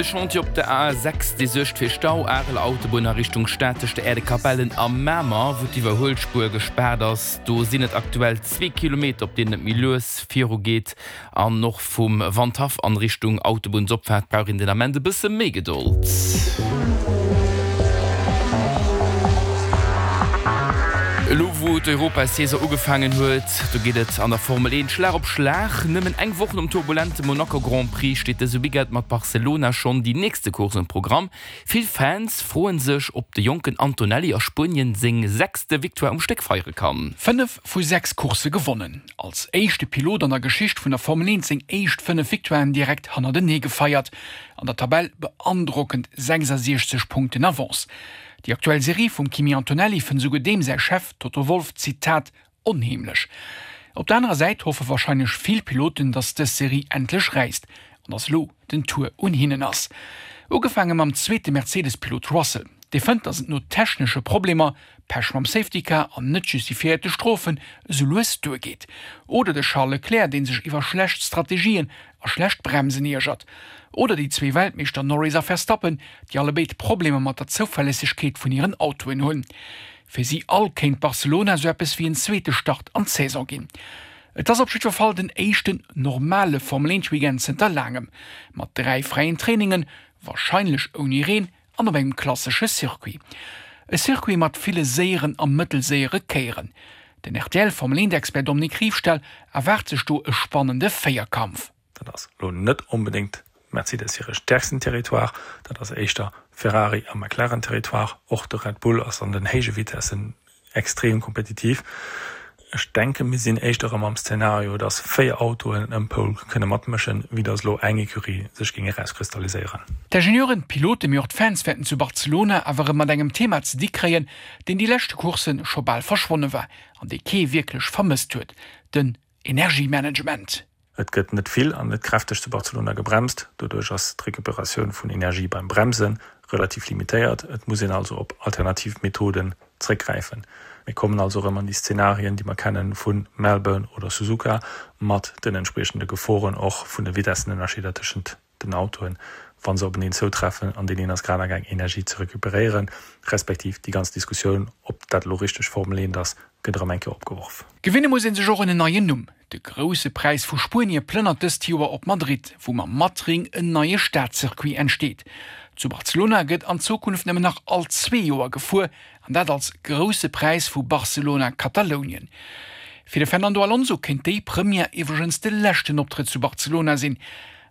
De Chantier op der A 6, dee suergt fir Stau, Areler Autobunn a Richtung Stad tëscht der Äerdekapellen a Mamer, wou d'Iwwerhuelspuer gespaart ass. Do sinn et aktuell zwee Kilometer, op deenen et méi lues viru geet. An och vum Wandhaff an Richtung Autobunnsopfaart brauch een den Ament e bësse méi Gedold. Elo wou d'Europasaison ugefaangen huet, do geet et an der Formel 1 Schlag op Schlag. Nëmmen eng Woch nom turbulente Monaco Grand Prix steet dëse Weekend mat Barcelona schonn déi nächste Course um Programm. Vill Fans froen sech, ob de jonken Antonelli a Spuenien seng sechste Victoire um Stéck feiere kann. 5 vu 6 Coursse gewonnen. Als éischte Pilot an der Geschicht vun der Formel 1 seng éischt 5 Victoiren direkt hannertenee gefeiert. An der Tabell beandrockend 66 Punkten Avance. Déi aktuell Serie vum Kimi Antonelli fënnt esouguer deem säi Chef Toto Wolff, Zitat, onheemlech. Op der anerer Säit hoffe warscheinlech vill Piloten, datt dës Serie endlech räisst an datt elo den Tour un hinnen ass. Ugefaange mam zweete Mercedes-Pilot Russell, dee fënnt, datt et no technesche Problemer, Pech mam Safety Car an net justifiéierte Strofen esou lues duergeet. Oder de Charles Leclerc, dee sech iwwer schlecht Strategien a schlecht Bremsen iergert. Oder déi zwee Weltmeeschter Norris a Verstappen, déi allebéid Problemer mat der Zouverlässegkeet vun hiren Autoen hunn. Fir si all kéint Barcelona esou eppes wéi en zweete Start an d'Saison ginn. Et ass op jiddwer Fall den éischten normale Formel-Eent-Weekend zënter laangem, mat 3 fräien Trainingen, warscheinlech ouni Reen an op engem klassesche Circuit. E Circuit mat ville séieren a mëttelséiere Kéieren. Den RTL-Formel-Eent-Expert Dominique Riefstahl erwaart sech do e spannende Véierkampf. Dat ass elo net onbedéngt Mercedes hire stäerksten Territoire, dat ass éischter Ferrari a McLaren Territoire. Och de Red Bull ass an den héije Vitessen extrem kompetitiv. Ech denke mir sinn éischter erëm am Szenario, datt 4 Autoen ëm Pole kënne matmëschen, wéi datt elo eng Ecurie sech géing erauskristalliséieren. D'Ingenieuren, d'Piloten, mee och d'Fans wäerten zu Barcelona awer erëm mat engem Thema ze di kréien, deen déi leschte Coursse scho bal verschwonne war an dee kee wierklech vermësst huet, den Energiemanagement. Et gëtt net vill an net kräfteg zu Barcelona gebremst. Doduerch ass d'Recuperatioun vun Energie beim Bremse relativ limitéiert. Et muss een also op alternativ Methoden zréckgräifen. Mir kommen also erëm an déi Szenarien, déi mer kennen vu Melbourne oder Suzuka, mat den entspriechende Geforen och vun de Vitessenënnerscheeder tëschent den Autoen, wa se openeen zoutreffen an deen een ass grad amgaang Energie ze recuperéieren, respektiv déi ganz Diskussioun, ob dat elo richteg Formel 1 ass, gëtt erëm eng Kéier opgeworf. Gewinne muss ee sech och un en neien Numm. De Grousse Präis vu Spuenie plënnert dëst Joer op Madrid, wou mam Matring en neie Stadcircuit entsteet. Zu Barcelona gëtt an Zukunft nëmmen nach all zwee Joer gefuer, an dat als Grousse Präis vu Barcelona-Katalounien. Fir de Fernando Alonso kéint déi Première iwwregens de leschten Optrëtt zu Barcelona sinn.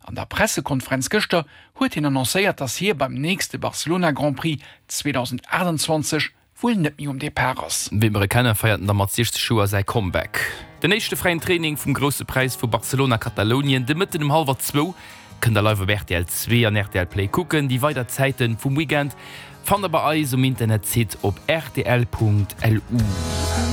An der Pressekonferenz gëschter huet hien annoncéiert, datt hie beim nächste Barcelona Grand Prix 2028 wuel net méi um Depart ass. Wéi mer e kennen, feiert en da mat 60 Joer säi Comeback. Den éischte fräien Training vum Grousse Präis vu Barcelona-Katalounien de Mëtten um hallwer zwou kënnt der live op rtl 2 an rtl Play kucken. Déi weider Zäite vum Weekend fannt der bei eis um Internetsite op rtl.lu.